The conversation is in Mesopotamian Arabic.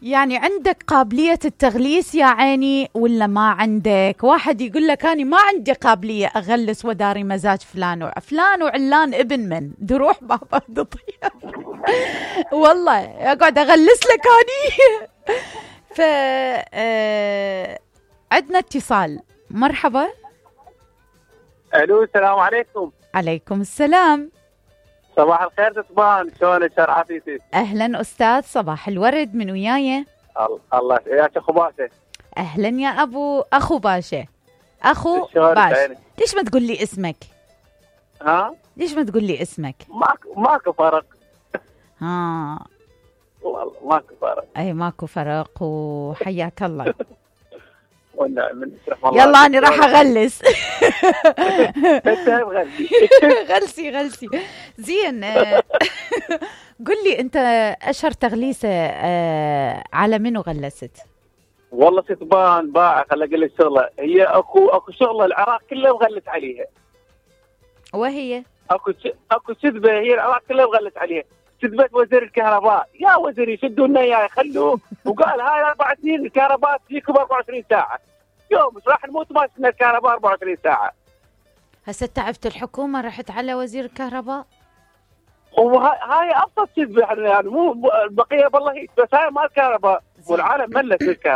يعني عندك قابلية التغليس يا عيني ولا ما عندك؟ واحد يقول لك أنا ما عندي قابلية أغلس وداري مزاج فلان وعلان ابن من دروح بابا تطير. والله أقعد أغلس لك أني. عندنا اتصال. مرحبا. الو السلام عليكم. عليكم السلام. صباح الخير تطبان، شلونك عافيتك؟ اهلا استاذ، صباح الورد، من وياي؟ الله ياك اخو باشا. اهلا يا اخو باشا. اخو باشا، ليش ما تقول لي اسمك؟ ها؟ ليش ما تقول لي اسمك؟ ماكو فرق. ها والله ماكو فرق. اي ماكو فرق، وحياك الله. يلا أنا راح أغلس. غلسي زين. قل لي أنت أشهر تغليسة على منو غلست؟ والله ستبان باع، خلي أقول لك شغلة، هي أكو شغلة العراق كله مغلس عليها. وهي؟ أكو كذبة هي العراق كله مغلس عليها. كذبة وزير الكهرباء، يا وزير يشدوا لنا إياه يخلوه، وقال هاي 4 سنين الكهرباء تجيكم 24 ساعة. يوم مش راح نموت ما شفنا الكهرباء 24 ساعة. هسه تعبت الحكومة رحت على وزير الكهرباء؟ وهاي أبسط كذبة يعني، مو البقية بالله، بس هاي ما الكهرباء والعالم ملت بالكهرباء.